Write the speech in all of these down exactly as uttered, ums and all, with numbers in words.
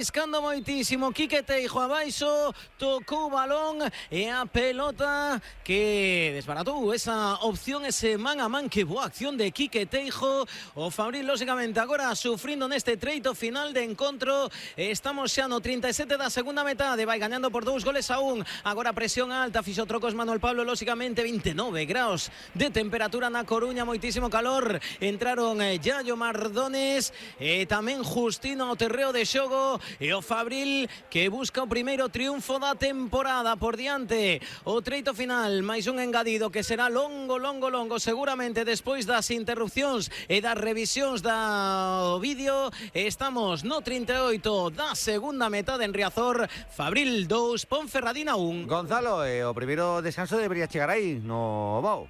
Escando moitísimo, Quique Teijo abaixo, tocou o balón e a pelota que desbaratou esa opción, ese man a man. Que boa acción de Quique Teijo. O Fabril, lógicamente, agora sufrindo neste treito final de encontro. Estamos xa no trinta e sete da segunda metade, vai gañando por dous goles a un. Agora presión alta, fixo trocos Manuel Pablo, lógicamente, vinte e nove graus de temperatura na Coruña, moitísimo calor. Entraron eh, Yayo Mardones e tamén Justino ao terreo de xogo. E o Fabril que busca o primeiro triunfo da temporada por diante. O treito final, máis un engadido que será longo, longo, longo, seguramente despois das interrupcións e das revisións do vídeo. Estamos no trinta e oito da segunda metade en Riazor. Fabril dous, Ponferradina un. Gonzalo, eh, o primeiro descanso debería chegar aí no Bao.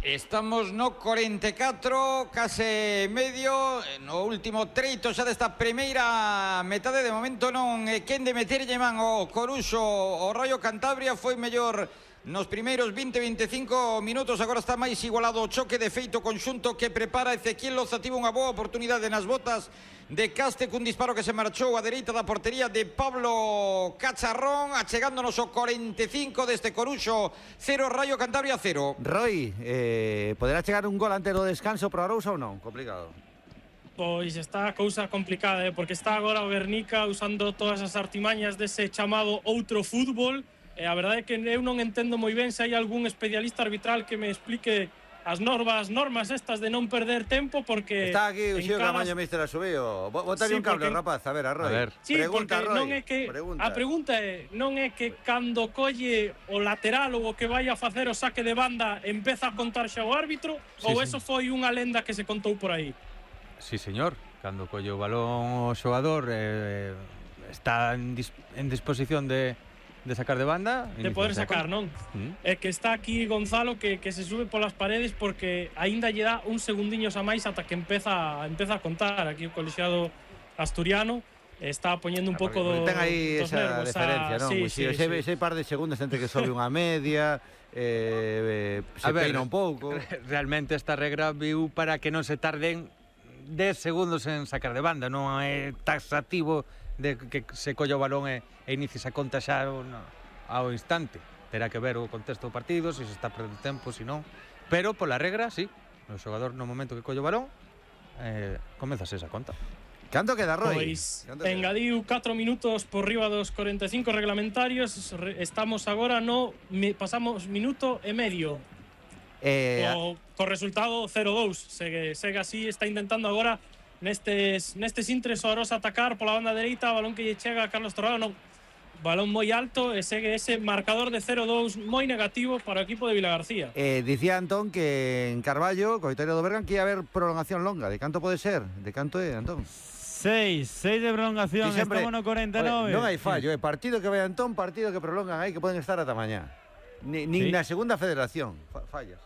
Estamos no cuarenta e catro, case medio, no último treito xa desta primeira metade. De momento non é quen de meterlle man o Coruxo. O Rayo Cantabria foi mellor nos primeiros vinte a veinticinco minutos. Agora está máis igualado o choque. De feito, conxunto que prepara Ezequiel Loza tivo unha boa oportunidade nas botas de Caste cun disparo que se marchou a dereita da portería de Pablo Cacharrón, achegándonos o cuarenta e cinco deste Coruxo cero, Rayo Cantabria cero. Roy, eh, poderá chegar un gol antes do descanso para Arousa ou non? Complicado. Pois está a cousa complicada, eh, porque está agora o Guernica usando todas as artimañas dese chamado outro fútbol. E a verdade é que eu non entendo moi ben se hai algún especialista arbitral que me explique as normas, normas estas de non perder tempo, porque está aquí o Xio cada... Camaño, mister Asubío. Bótale sí, un cable, porque... rapaz, a ver, a Roy. A ver. Sí, pregunta, porque Roy. Non é que pregunta. A pregunta é, non é que cando colle o lateral ou o que vai a facer o saque de banda empeza a contar xa o árbitro, sí, ou sí. Eso foi unha lenda que se contou por aí? Sí, señor, cando colle o balón o xogador eh, está en, dis en disposición de de sacar de banda, de poder sacar, non? Mm. É que está aquí Gonzalo que, que se sube polas paredes porque aínda lle dá un segundiños a máis ata que empeza empeza a contar. Aquí o colexiado asturiano está poñendo un pouco do, ten aí dos esa nervos. diferencia, non? Sí, Sí, sí, ese, sí. ese par de segundos entre que sobe unha media, eh, se ver, peina un pouco. Realmente esta regra viu para que non se tarden dez segundos en sacar de banda, non é taxativo de que se colla o balón e, e inicie a conta xa no, ao instante. Terá que ver o contexto do partido, se se está perdendo tempo, se non. Pero pola regra, sí, o xogador no momento que colla o balón eh, comezase esa conta. Canto queda, Roy? Pois engadiu catro minutos por riba dos cuarenta e cinco reglamentarios. Estamos agora no pasamos minuto e medio. Eh, o, co resultado cero dous. Segue, segue así, está intentando agora nestes, nestes intres o Arosa atacar pola banda dereita, balón que lle chega a Carlos Torrado, non, balón moi alto e segue ese marcador de cero dous moi negativo para o equipo de Vilagarcía. Eh, dicía Antón que en Carballo, coitario do Bergan, que ia haber prolongación longa. De canto pode ser? De canto é, Antón? seis, seis de prolongación, sí, estamos no cuarenta e nove. Oye, non hai fallo, é eh. partido que vai Antón, partido que prolongan aí, que poden estar ata mañá. Ni, ni sí. Na segunda federación fallas.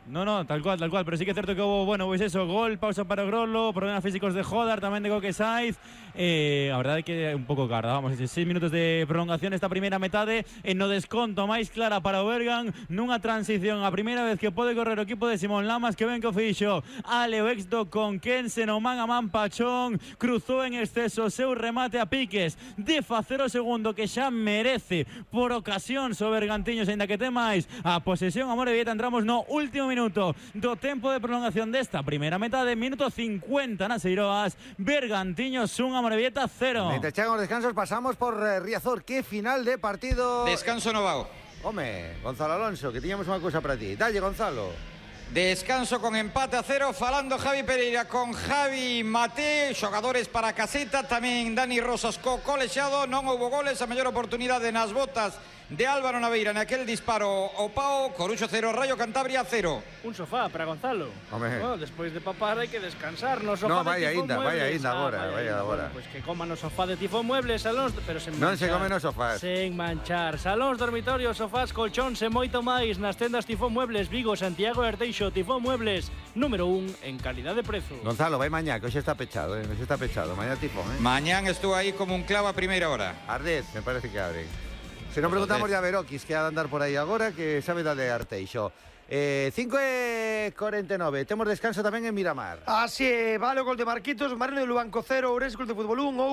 No, no, tal cual, tal cual, pero sí que es cierto que hubo, bueno, pues eso, gol, pausa para Grolo, problemas físicos de Jodar, tamén de Coque Saiz. Eh, a verdade é que é un pouco carda, vamos, seis minutos de prolongación esta primeira metade, en no desconto máis clara para o Bergan, nunha transición a primeira vez que pode correr o equipo de Simón Lamas, que ven que o fixo Aleo Exdo con Kensen, o man a man Pachón, cruzou en exceso o seu remate a piques de facer o segundo que xa merece por ocasión o Bergantiños, ainda que ten máis a posesión a Morevieta. Entramos no último minuto do tempo de prolongación desta primeira metade, minuto cincuenta nas Eiroas, Bergantiños un, Amorebieta cero. Mientras chegan os descansos pasamos por eh, Riazor. Que final de partido. Descanso no Bao. Home, Gonzalo Alonso, que tiñamos unha cousa para ti. Dalle, Gonzalo. Descanso con empate a cero, falando Javi Pereira con Javi Mate, xogadores para a caseta, tamén Dani Rosas co colexiado. Non houbo goles, a mellor oportunidade nas botas de Álvaro Naveira naquel disparo o Pau. Coruxo cero, Rayo Cantabria cero. Un sofá para Gonzalo. Oh, despois de papar hai que descansar no sofá no, de Tifón ainda, Muebles. Vai ainda agora, ah, vai agora. Pois pues que coman no sofá de Tifón Muebles, salóns, pero sen non manchar. Non se come no sofás. Sen manchar. Salóns, dormitorios, sofás, colchóns e moito máis nas tendas Tifón Muebles, Vigo, Santiago e Arteixo. Tifón Muebles, número un en calidad de prezo. Gonzalo, vai mañá, que hoxe está pechado, eh? Hoxe está pechado, mañá Tifón, eh? Mañán estuvo aí como un clavo a primeira hora. Ardez, me parece que abre. Se non preguntamos ya a Verokis, que ha de andar por aí agora, que sabe da de Arteixo. Eh, cinco e cuarenta e nove, temos descanso tamén en Miramar. Así é, vale o gol de Marquitos, Marino de Lubanco cero, Ourense Club de Fútbol un, ou